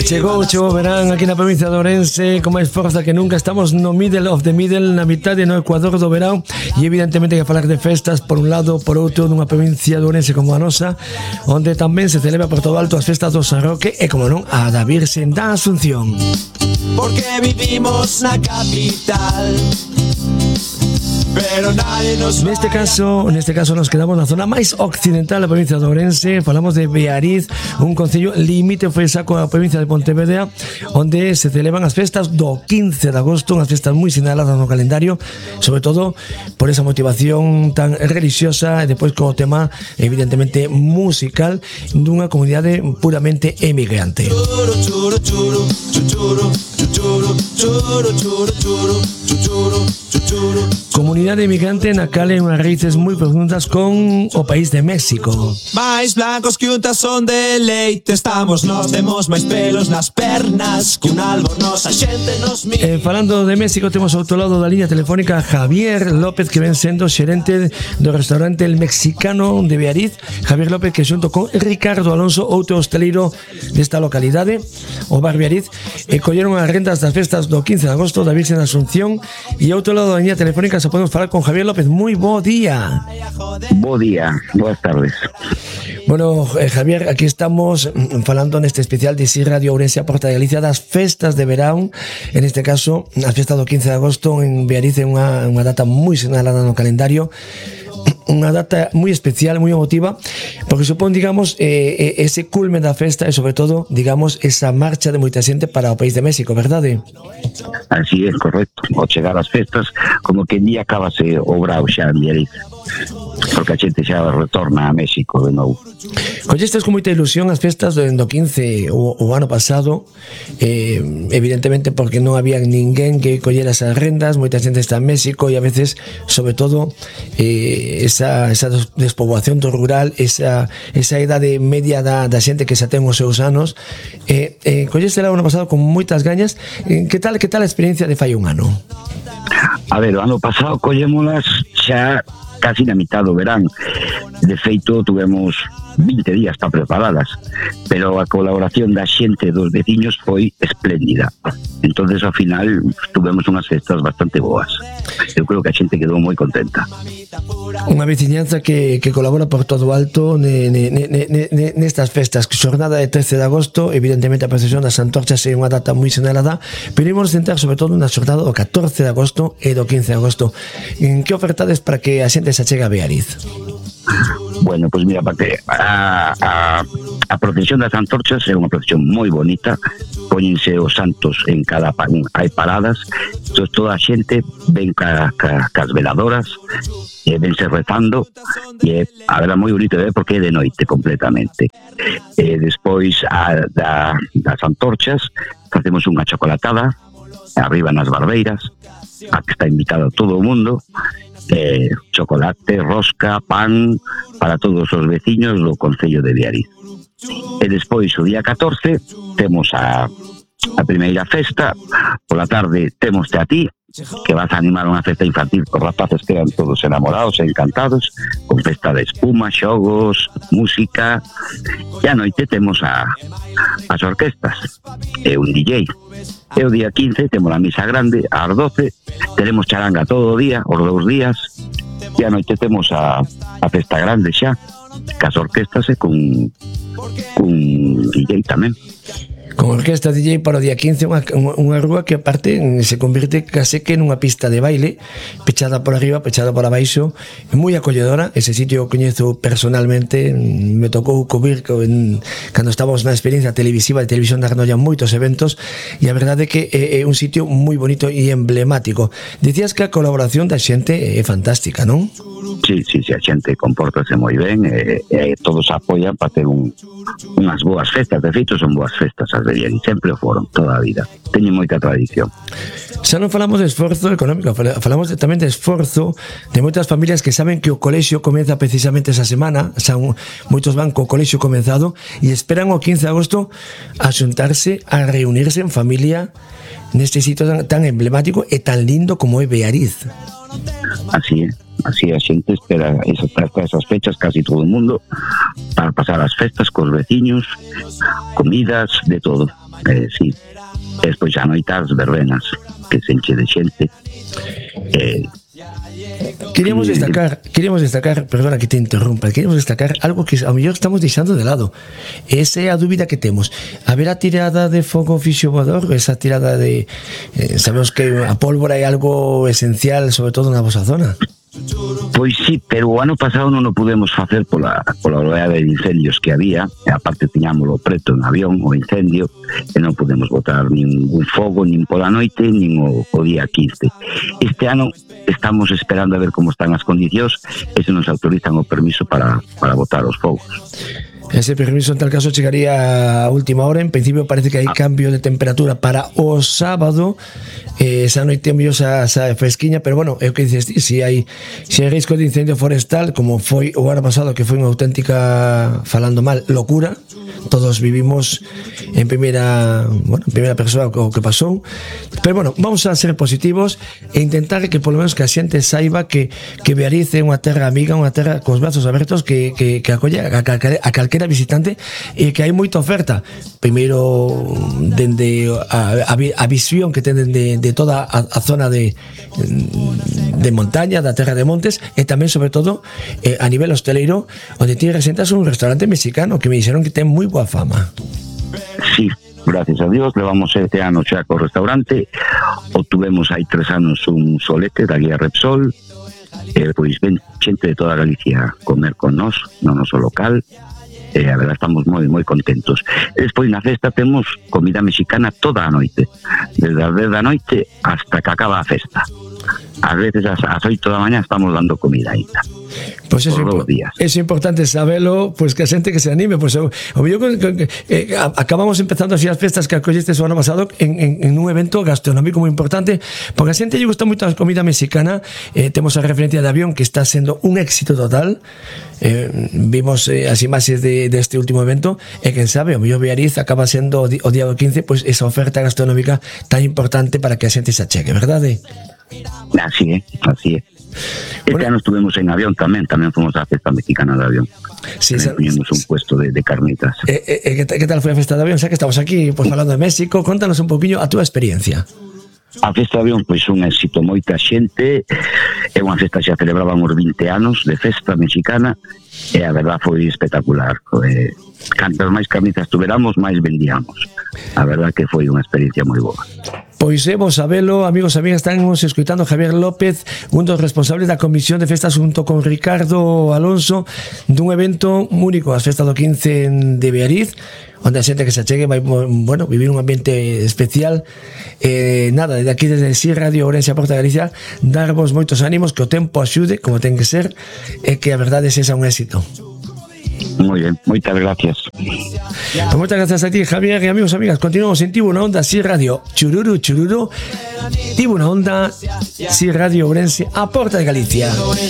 Chegou o verán aquí na provincia de Ourense con máis forza que nunca. Estamos no middle of the middle, na mitad no ecuador do verán, e evidentemente que falar de festas por un lado, por outro, nunha provincia de Ourense como a nosa, onde tamén se celebra por todo alto as festas do San Roque e, como non, a da Virxen da Asunción. Porque vivimos na capital, pero nadie nos Neste caso nos quedamos na zona máis occidental da provincia de Ourense. Falamos de Beariz, un concello limite foi saco a provincia de Pontevedra, onde se celebran as festas do 15 de agosto, unhas festas moi sinaladas no calendario, sobre todo por esa motivación tan religiosa e depois co tema evidentemente musical dunha comunidade puramente emigrante. Comunidade emigrante na cal hai unhas raíces moi profundas con o país de México. máis blancos que un tazón de leite, estamos nós, temos máis pelos nas pernas que un albornoz, a xente nos mira. Falando de México, temos ao outro lado da liña telefónica a Javier López, que ven sendo xerente do restaurante El Mexicano de Beariz. Javier López, que xunto con Ricardo Alonso, outro hosteleiro desta localidade, o bar Beariz, colleron as rendas das festas do 15 de agosto da Virxen da Asunción. E ao outro lado da liña telefónica se podemos falar con Javier López. Moi bo día. Bo día, boas tardes. Bueno, Javier, aquí estamos falando neste especial de Radio Ourense a Porta de Galicia das festas de verán. En este caso, as festas do 15 de agosto en Beariz é unha data moi sinalada no calendario, unha data moi especial, moi emotiva, porque supón, digamos, ese culme da festa e, sobre todo, digamos, esa marcha de moita xente para o país de México, verdade? Así é, correcto. Ao chegar as festas, como que día acabase o brao xa en Beariz, porque a xente xa retorna a México de novo. Collestes con moita ilusión as festas do 15 o ano pasado, evidentemente porque non había ninguén que collera esas rendas, moita xente está en México, e a veces, sobre todo, esa despoboación do rural, esa idade media da xente que xa ten os seus anos, colleste o ano pasado con moitas gañas. Que tal a experiencia de fai un ano? A ver, o ano pasado collémolas xa casi na mitad do verán. De feito, tuvemos 20 días para preparadas, pero a colaboración da xente dos veciños foi espléndida. Entonces, ao final, tuvemos unhas festas bastante boas. Eu creo que a xente quedou moi contenta. Unha veciñanza que colabora por todo alto nestas festas. Xornada de 13 de agosto, evidentemente a procesión das antorchas é unha data moi sinalada, pero imos centrar sobre todo na xornada do 14 de agosto e do 15 de agosto. En que ofertades para que a xente se achegue a Beariz? Bueno, pois mira, porque a procesión das antorchas é unha procesión moi bonita. Póñense os santos en cada hai paradas, entón toda a xente ven cas veladoras e vense rezando, e a verdad moi bonito de ver porque é de noite completamente. Despois das antorchas facemos unha chocolatada arriba nas barbeiras, a que está invitado todo o mundo, chocolate, rosca, pan para todos os veciños do concello de Beariz. E despois o día 14 temos a primeira festa. Pola tarde temos a ti, que vas a animar unha festa infantil con rapaces que eran todos enamorados e encantados, con festa de espuma, xogos, música. E a noite temos as orquestas e un DJ. E o día 15 temos a misa grande ás 12, teremos charanga todo o día, os 2 días, e a noite temos a festa grande xa, cas orquestas e con DJ tamén. Con orquesta DJ para o día 15, unha rúa que aparte se convirte case que nunha pista de baile, pechada por arriba, pechada por abaixo, moi acolledora. Ese sitio o coñezo personalmente, me tocou cubrir cando estábamos na experiencia televisiva de Televisión da Granolla moitos eventos, e a verdade é que é un sitio moi bonito e emblemático. Dicías que a colaboración da xente é fantástica, non? Sí, a xente compórtase moi ben, e todos apoian para ter unhas boas festas. De feito, son boas festas as de Beariz, sempre o foron toda a vida, teñen moita tradición. Xa non falamos de esforzo económico, falamos tamén de esforzo de moitas familias que saben que o colexio comeza precisamente esa semana. Xa moitos van co colexio comenzado e esperan o 15 de agosto a xuntarse, a reunirse en familia neste sitio tan emblemático e tan lindo como é Beariz. Así é. así a xente espera esas fechas, casi todo o mundo, para pasar as festas cos veciños, comidas, de todo. Sí. E despois xa noitas verbenas, que se enche de xente. Queríamos destacar, perdona que te interrumpa, queríamos destacar algo que a mellor estamos deixando de lado. Esa é a dúbida que temos. Haberá tirada de fogo fisiovoador, esa tirada de sabemos que a pólvora é algo esencial, sobre todo na vosa zona. Pois sí, pero o ano pasado non o pudemos facer pola oleada de incendios que había, e aparte tiñámoslo preto en avión o incendio, e non pudemos botar ningún fogo nin pola noite nin o día 15. Este ano estamos esperando a ver como están as condicións e se nos autorizan o permiso para botar os fogos. Ese permiso en tal caso chegaría a última hora. En principio parece que hai cambio de temperatura para o sábado, esa noite mellor esa fresquiña, pero bueno, é o que dices, se hai risco de incendio forestal, como foi o ano pasado, que foi unha auténtica, falando mal, locura. Todos vivimos en primeira persoa o que pasou, pero bueno, vamos a ser positivos e intentar que polo menos que a xente saiba que Beariz é unha terra amiga, unha terra cos brazos abertos que acolle a calquera visitante, e que hai moita oferta, primeiro dende a visión que ten de toda a zona de montaña, da terra de montes, e tamén sobre todo a nivel hosteleiro, onde ti resentas un restaurante mexicano que me dixeron que ten moi boa fama. Sí, gracias a Dios, levamos 7 anos xa co restaurante. Obtuvemos hai 3 anos un solete da guía Repsol, pois ven xente de toda Galicia a comer con nós no noso local, e a verdade estamos moi contentos. E despois na festa temos comida mexicana toda a noite, desde as 10 da noite hasta que acaba a festa. A veces ás 8 da mañá estamos dando comida ainda. Pues es importante sabelo, pues que a xente que se anime, pues acabamos empezando así as festas que acollestes o ano pasado en un evento gastronómico moi importante, porque a xente lle gusta moito a comida mexicana. Temos a referencia de avión que está sendo un éxito total. Vimos as imaxes deste último evento, e quen sabe, o mellor Beariz acaba sendo o día do 15 pues esa oferta gastronómica tan importante para que a xente se achegue, verdade? Así é. Este ano estuvemos en avión tamén fomos á festa mexicana de avión. Sí, teníamos un puesto de carnitas. ¿Qué tal foi a festa de avión? Xa que estamos aquí pues falando de México, contanos un poquinho a túa experiencia. A festa de avión pois un éxito, moita xente, é unha festa xa celebraban os 20 anos de festa mexicana, e a verdad foi espectacular. Cantas máis carnizas tuveramos, máis vendíamos. A verdad que foi unha experiencia moi boa. Pois vos sabelo, amigos e amigas, estamos escoitando Javier López, un dos responsables da Comisión de Festas junto con Ricardo Alonso, dun evento único, as festas do 15 de Beariz, onde a xente que se achegue vai, bueno, vivir un ambiente especial. Nada, desde aquí, desde Sí Radio Ourense, a Porta de Galicia, darvos moitos ánimos, que o tempo axude, como ten que ser, e que a verdade sexa un éxito. Moi ben, moitas gracias. Pues moitas gracias a ti, Javier, e amigos e amigas, continuamos en Tibu na Onda, Sí Radio, chururu, Tibu na Onda, Sí Radio Ourense, a Porta de Galicia.